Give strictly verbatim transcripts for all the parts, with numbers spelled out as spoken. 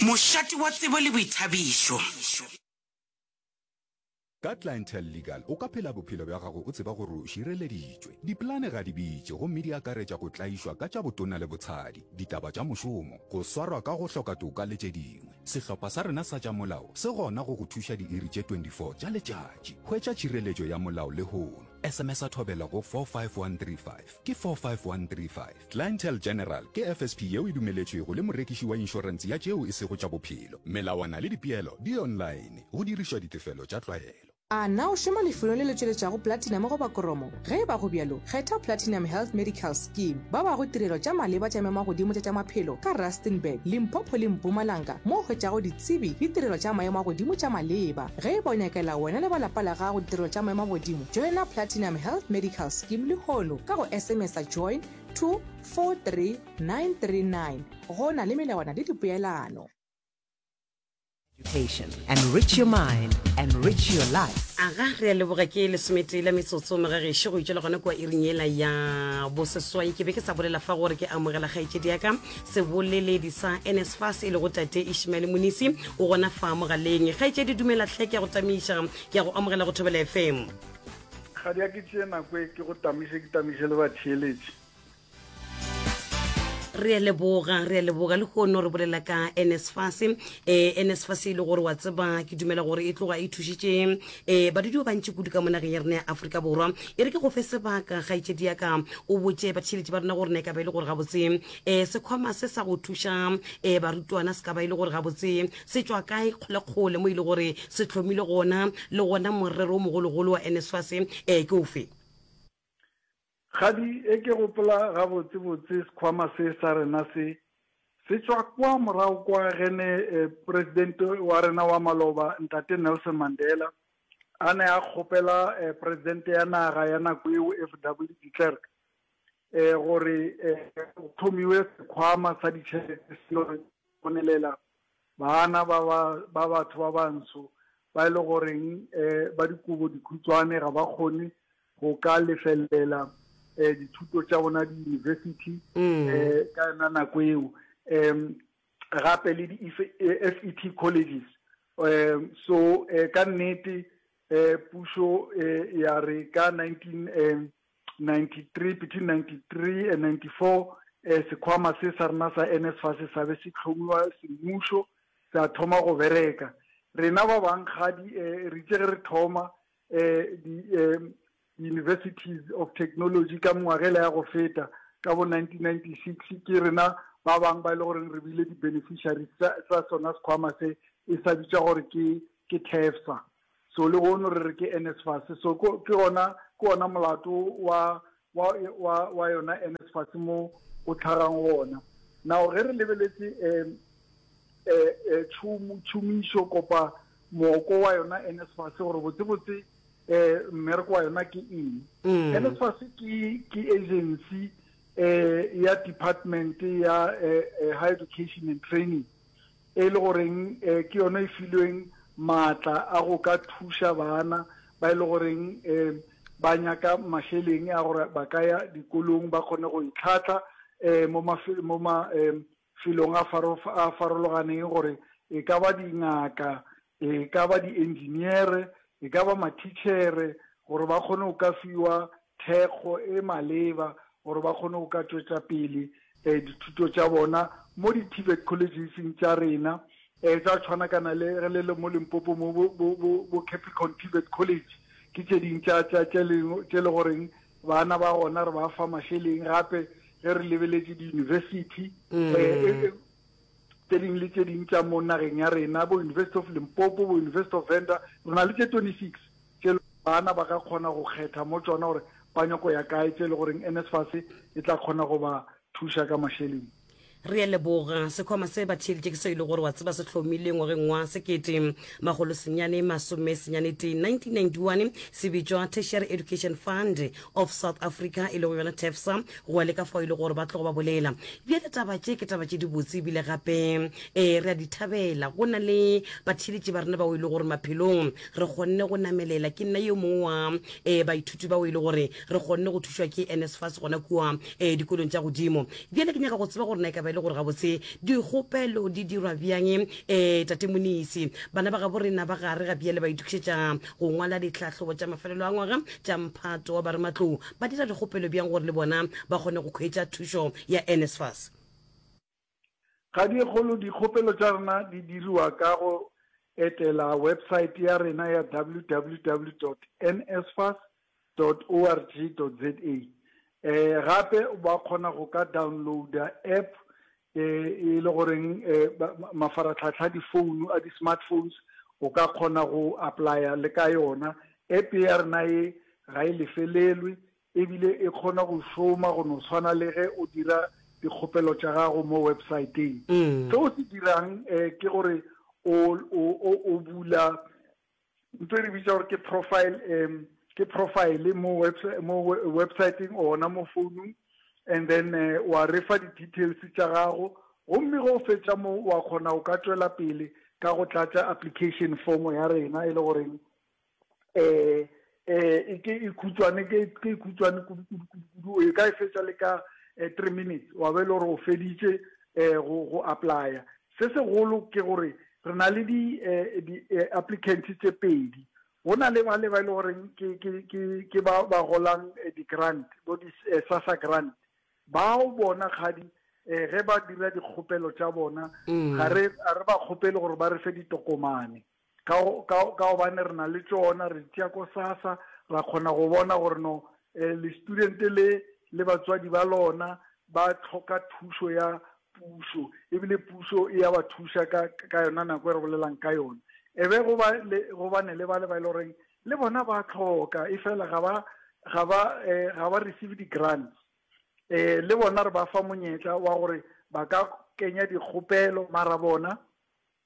Mošate wa tsebo le boithabišo. Ka Clientele Legal o ka phela bophelo bja gago o tseba gore o šireleditšwe. Dipolane ga di bitše gomme di akaretša go tlaišwa ka tša botona le botshadi, ditaba tša mošomo, go swarwa ka go hloka toka le tše dingwe. Sehlopha sa rena sa tša molao se gona go go thuša diiri tše twenty-four tša letšatši. Hwetša tšhireletšo ya molao lehono. S M S a Thobela go four five one three five. Ke four five one three five. Clientele General ke F S P yeo e dumeletšwego le morekiši wa inšorense ya tšeo e sego tša bophelo. Melawana le dipeelo di online. Go dirišwa ditefelo tša tlwaelo. A na o šoma lefelong le le tšweletšago platinum goba kromo? Ge e ba go bjalo, kgetha Platinum Health Medical Scheme. Ba bago tirelo tša maleba tša maemo a godimo tša tša maphelo ka Rustenburg, Limpopo le Mpumalanga mo o hwetšago ditsebi le tirelo tša maemo a godimo tša maleba. Ge e ba o nyakela wena le ba lapa la gago ditirelo tša maemo a godimo, joina Platinum Health Medical Scheme lehono ka go S M S join to four three nine three nine. Go na le melawana le dipeelano. Education. Enrich your mind, enrich your life. Aga, re a leboga. Ke lesometee la metsotso mogagešo go itšwela gona kua iring yela ya boseswai. Ke be ke sa bolela fa gore ke amogela kgaetšedi ya ka, seboleledi sa N S F A S, e lego tate Ishmael Monisi, o gona fa mogaleng. Kgaetšedi, dumela tlhe, ke ya go tamiša, ke ya go amogela go Thobela F M. Ga di a ke tšee nako e ke go tamiše, ke tamiše le batheeletše. Re a leboga, re a leboga. Le kgono re bolela ka N S F A S, um N S F A S e le gore wa tseba, ke dumela gore e tloga e thušitše um badudi ba bantši kudu ka mo nageng ya rena ya Aforika Borwa. E re ke go fe sebaka, kgaetšedi ya ka, o botše batheeletši ba rena gore na e ka ba e le gore gabotse um sekhwama se sa go thuša um barutwana se ka ba e le gore gabotse se tšwa kae kgolekgole, mo e le gore se hlomile gona, le gona morero o mogologolo wa N S F A S um ke ofe? Gadi, e ke gopola gabotsebotse, sekhwama se sa rena se se tšwa kwa morago kwa gene eh, president wa rena wa maloba, ntate Nelson Mandela, a ne a kgopela eh, president ya naga ya nako eo, F W de Klerk, eh, gore eh, go thomiwe sekhwama sa ditšhelete se le bonelela bana ba ba ba batho ba bantsho ba e le goreng eh, ba dikobo dikhutshwane, ga ba kgone go ka lefelela eh, dithuto tša bona di-university Mm. eh, ka yona nako eo, um gape le di-F E T colleges. um so eh, ka nnete eh, pušo eh, ya re ka nineteen ninety-three, between ninety-three and ninety-four, eh, sekhwama se sa rena sa N S F A S sa be se tlhomiwa semmušo, sa thoma go bereka. Rena ba bang gadi eh, re itse ge re thoma eh, di eh, universities of technology ka mengwagela ya go feta ka bo nineteen ninety-six, ke rena ba bang ba e le goreng re bile di-beneficiaries tsa tsa sona sekhwama se e sa bitša gore ke ke TEFSA. So le gono re re ke N S F A S. So ko- ke gona ke ona molato wa wa wa wa yona N S F A S mo o tlhagang gona. Now ge re lebeletse um eh eh tšhomo tšhomišo kopa mooko wa yona N S F A S, gore botsebotse eh mmereko wa yona ke eng, Mm. N S F A S ke ke agency eh ya department ya eh, eh, higher education and training, e le goreng eh, ke yona e filweng maatla a go ka thuša bana ba e le goreng eh, ba nyaka mašeleng a gore ba ka ya dikolong, ba kgone go itlhatla eh, mo mafe- mo ma eh, felong a faro- a farologaneng, gore e ka ba dingaka, e ka ba di-engineer, e ka ba matitšhere, gore ba kgone go ka fiwa thekgo e maleba gore ba kgone go ka tšwetša pele um dithuto tša bona mo di-T V E T collegeseng tša rena, um tša tshwanakana le ge le le mo Limpopo mo bo, bo, bo, bo Capricorn T V E T College, ke tše ding tša tša tše leng- tše le goreng bana ba gona re ba fa mašeleng. Gape ge re lebeletše di-university Mm. eh, e- e- tše dingwe le tše ding tša mo nageng ya rena, bo University of Limpopo, bo University of Venda, re na le tše twenty-six tše bana ba ka kgona go kgetha mo tšona gore ba nyako ya kae, tše le goreng N S F A S e tla kgona go ba thuša ka mašeleng. Re a leboga. Sekhwama se ba theeletše ke se e le gore wa tseba se hlomile ngwageng wa sekete makgolo senyane masome senyane tee, nineteen ninety-one, se bitšwa Tertiary Education Fund of South Africa, e lego yona TEFSA, go ya le ka fao e le gore ba tlogo ba bolela. Bjale taba tše ke taba tše dibotse, ebile gape um re a di thabela. Go na le batheeletši ba rena bao e le gore maphelong re kgonne go namelela. Ke nna yo mongwe wa um baithuti bao e le gore re kgonne go thušwa ke N S F A S gona kua um dikolong tša godimo. Bjale ke nyaka go tseba gore na e ka ba e le gore gabotse dikgopelo di dirwa bjang. Um Tate Monisi, bana ba gabo rena ba gare ga bjale ba itokišetša go ngwala ditlhahlobo tša mafelelo a ngwaga tša mphato wa barematlou. Ba dira dikgopelo bjang gore le bona ba kgone go hwetša thušo ya NSFAS? Ga dikgolo dikgopelo tša rena di diriwa ka go etela website ya rena ya www dot nsfas dot org dot za. Eh gape ba kgona go ka downloada app eh e le goreng eh mafaratlhatlha a difounu a di-smartphones o ka kgona go applya le ka yona. App ya rena ye ga e lefelelwe ebile e kgona go šoma go no tshwana le ge o dira dikgopelo tša gago mo websiteng. Se o se dirang eh ke gore o o o bula ntho e re bitsa gore ke profile um ke profile mo website mo websiteng ona mo founung and then uh, wa re fa di-details tša gago gomme ge o fetša mo wa kgona o ka tšwela pele ka go tlatša application form ya rena e le goreng eh eh ke e khutshwane ke ke e khutshwane kudu kudu kudu kudu e ka e fetša le ka three minutes wa be le gore o feditše eh go go applya. Se segolo ke gore re na le di di applicants tše pedi. Go na le ba le ba e le goreng ke ke ke ke ba ba golang di-grant bo di SASSA grant. Bao bona kgadi eh ge ba dira dikgopelo tša bona ga re ga re ba kgopele gore ba re fe ditokomane ka ka ka gobane re na le tšona re tšea ko SASSA ra kgona go bona gore no eh, le student le le batswadi ba lona ba tlhoka thušo ya pušo ebile pušo e ya ba thuša ka ka yona nako e re bolelang ka yona e be go ba le go bane le ba le ba e le goreng le bona ba tlhoka e fela ga ba ga ba eh, ga ba receive di-grants eh le bona re ba fa monyetla wa gore ba ka kenya dikgopelo mara bona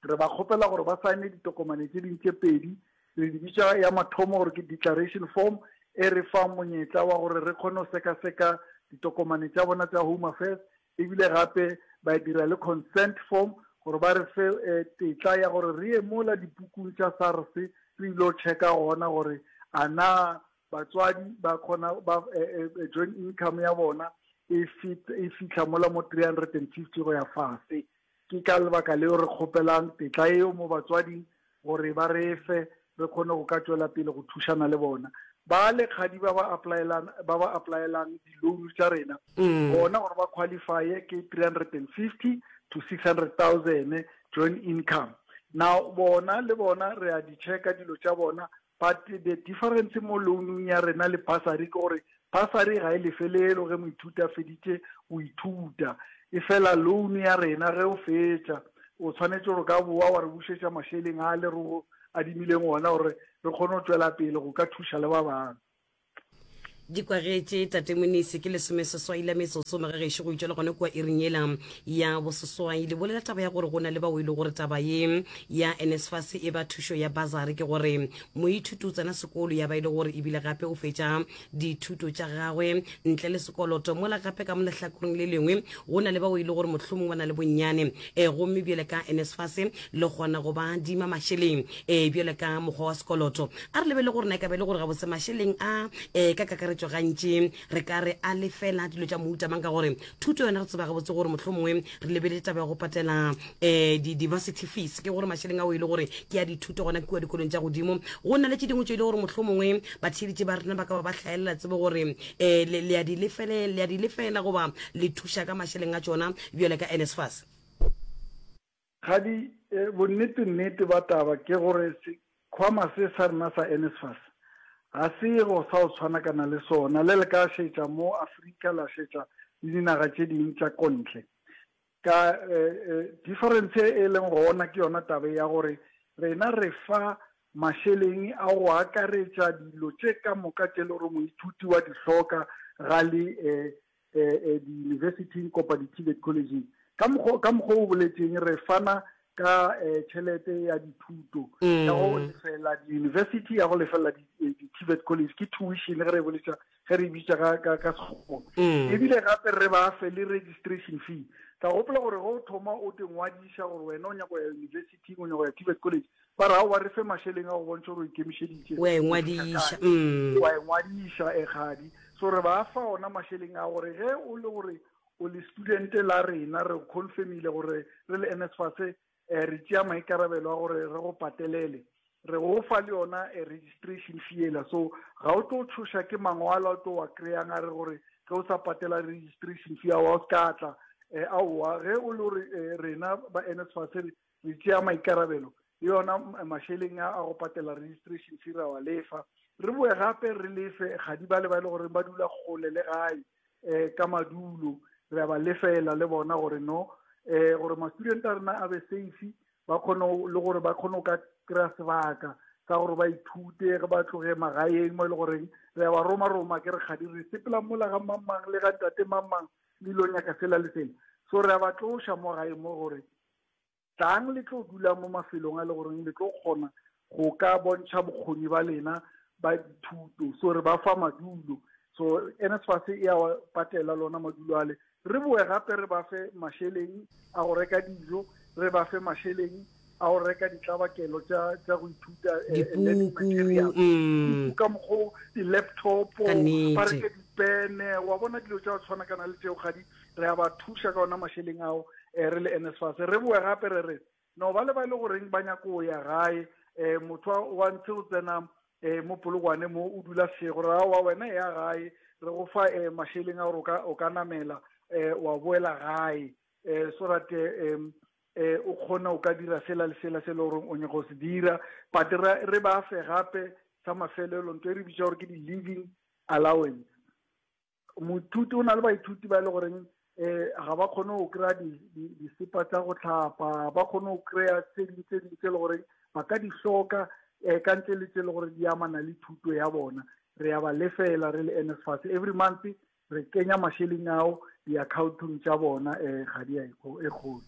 re ba kgopela gore ba saene ditokomane tše ding tše pedi re di bitša ya mathomo gore ke declaration form e re fang monyetla wa gore re kgone go sekaseka ditokomane tša bona tša home affairs ebile gape ba dira le consent form gore ba re fe eh, tetla ya gore re ye mola dipukung tša SARS re ile go checka gona gore a na batswadi ba kgona ba eh, eh, joint income ya bona e fit e fihla mola mo three hundred and fifty go ya fase. Ke ka lebaka leo re kgopelang tetla eo mo batswading gore ba re fe re kgone go ka tšwela pele go thušana le bona. Ba le kgadi ba ba applyelang ba ba applyelang di-loan tša rena bona gore ba qualifye ke three hundred and fifty to six hundred thousand joint income. Now bona le bona re a di checka dilo tša bona but the difference mo loanong ya rena le bursary ke gore bursary ga e lefelelo ge moithuti a feditše go ithuta e fela loan ya rena ge o fetša o tshwanetse gore ka boa wa re bušetša mašeleng a le re go adimileng ona gore re kgone go tšwela pele go ka thuša le ba bangwe. Di kwagetše Tate Monisi ke lesomeseswai la metsotso magagešo go itšwela gona kua iring yela ya boseswai. Le bolela taba ya gore go na le bao e le gore taba ye ya NSFAS e ba thušo ya basari ke gore moithuti o tsena sekolo ya ba e le gore ebile gape o fetša dithuto tša gagwe ntle le sekoloto mola gape ka mo lehlakoreng le lengwe go na le bao e le gore mohlomong ba na le bonnyane um gomme bjale ka NSFAS le kgona go ba adima mašeleng um bjale ka mokgwa wa sekoloto. A re lebele gore na e ka be e le gore gabotse mašeleng a um ka kakaretšo gantši re ka re a lefela dilo tša mohuta mang ka gore thuto yona re tseba gabotse gore mohlomongwe re lebeletse taba ya go patela um di-varsity fees ke gore mašeleng ao e le gore ke ya dithuto gona kua dikolong tša godimo. Go na le tše dingwe tše e le gore mohlomongwe batheeletši ba rena ba ka ba ba hlaelela tsebo gore um le a di lefele le a di lefela goba le thuša ka mašeleng a tšona bjale ka NSFAS. Gadi eh, bonnete nnete ba taba ke gore sekhwama se sa rena sa NSFAS ga se go sa o tshwana kana le sona le le ka šetša mo Afrika la šetša le dinaga tše ding tša kontle ka eh, eh, difference e leng gona ke yona taba ya gore rena re fa mašeleng a go akaretša dilo tše ka moka tše le gore moithuti wa di hloka ga le eh, eh, eh, di-universityng kopa di-TVET collegeng. Ka mokgwa ka mokgwa o boletseng re fana ka eh, tšhelete ya dithuto ya go lefela di-university ya go lefela di-TVET college ke tuition ge re boletša ge re bitša ka ka ka sekgowa ebile gape re ba fe le registration fee. Tla gopola gore ge o thoma o te ngwadiša gore wena o nyaka go ya university o nyaka go ya TVET college ba re ao re fe mašeleng a go bontšha gore o ikemišeditše o a ingwadiša wa ingwadiša e kgadi. So re ba fa ona mašeleng a gore ge o le gore o le student la rena, re confirmile gore re le N S F A S eh, re tšea maikarabelo a gore re go patelele, re go fa le yona eh, registration fee ela. So ga o tlo tšhoša ke mangwalo a tlo wa kry-ang a re gore ge o sa patela registration fee ao o se ka tla. eh, aowa, ge o le gore eh, rena ba N S F A S re re tšea maikarabelo le yona mašeleng a a go patela registration fee, ra wa lefa. Re boe gape re lefe gadi ba le ba e le gore ba dula kgole le gae um ka madulo, re a ba lefela le bona gore no um gore ma-student a rena a be safe, ba kgone le gore ba kgone go ka kry-a sebaka sa gore ba ithute ge ba tloge magaeng mo e le goreng re a ba roma-roma, ke re kgadi re sepela mola ga mang-mang le ga ntate mang-mang le ilo nyaka sela le sela. So re a ba tloša mo gae mo gore tlang le tlo dula mo mafelong a le goreng le tlo kgona go ka bontšha bokgoni ba lena ba dithuto. So re ba fa madulo, so N S F A S e a patela lona madulo ale. Re boe gape re ba fe mašeleng a go reka dijo, re ba fe mašeleng a go reka ditlabakelo tša tša go ithuta, eh, learning dipuku material, mm. ka mokgo di-laptop, Ka nnete. ba reke dipene, wa bona dilo tša go tshwanakana le tšeo gadi re a ba thuša ka ona mašeleng ao um re le N S F A S. Re boe gape re re no ba le ba e le goreng ba nyako go ya gae, um motho wa- wa ntse go tsena um mo Polokwane mo o dula sego, re aowa wena ya gae, re go fa um mašeleng a gore o ka- o ka namela um wa boela gae um so that um eh o kgona o ka dira sela le sela se le goreng o nyaka go se dira. But re re ba fe gape sa mafelelo ntho e re bitša gore ke di-living allowance. Moithuti o na le baithuti ba e le goreng eh ga ba kgone go kry-a disepa tsa go tlhapa, ba kgone go kry-a tse ding tse ding tse e le goreng ba ka di hloka um ka ntle le tse e le gore di amana le thuto ya bona. Re a ba lefela re le N S F A S every month, re kenya mašeleng ao di-accountong tša bona um ga di a e kgolo.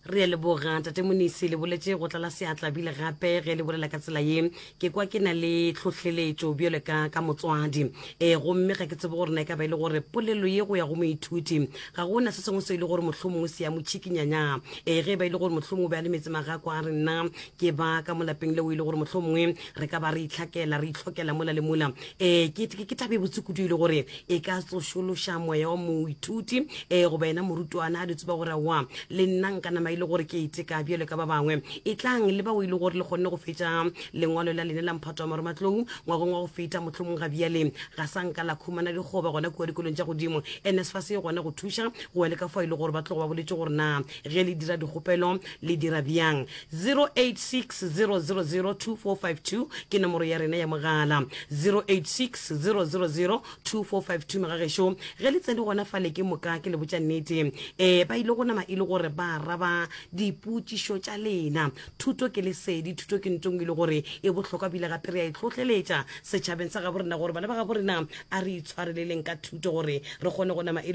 Re a leboga, tate Monisi, le boletse go tlala seatla bile gape ge le bolela ka tsela ye ke kwa ke na le tlhohleletšo bjale ka ka motswadi um gomme ga ke tsebe gore na e ka ba e le gore polelo ye go ya go moithuti ga gona se sengwe se e le gore mohlomongwe se ya motšhikinyanya um ge e ba e le gore mohlomongwe o be a le metse magako a re nna ke ba ka mo lapeng leo e le gore mohlomongwe re ka ba re itlhakela re itlhokela mola le mola um ke ke- ke tabe botse kudu e le gore e ka tsošološa moya wa moithuti um goba yena morutwana a di tseba gore wa le nna nka nama e le gore ke iteka bjalo ka ba bangwe. E tlang le bao e le gore le kgonne go fetša lengwalo la lene la mphato wa marematlou ngwageng wa go feta, mohlomong ga bjale ga sa nka la khumana dikgoba gona kua dikolong tša godimo, N S F A S e gona go thuša go ya le ka fao e le gore ba tlogo ba boletse gore na ge le dira dikgopelo le dira bjang. zero eight six zero zero zero two four five two ke nomoro ya rena ya mogala, zero eight six zero zero zero two four five two. Megagešo, ge le tsene gona fale ke moka ke le botša nnete um ba ile go nama e le gore ba araba dipotšišo tša lena. Thuto ke lesedi, thuto ke ntong e le gore e bohlokwa bile gape re a e tlhohleletša setšhabeng sa gabo rena gore bana ba gabo rena a re itshwareleleng ka thuto gore re kgone go nama e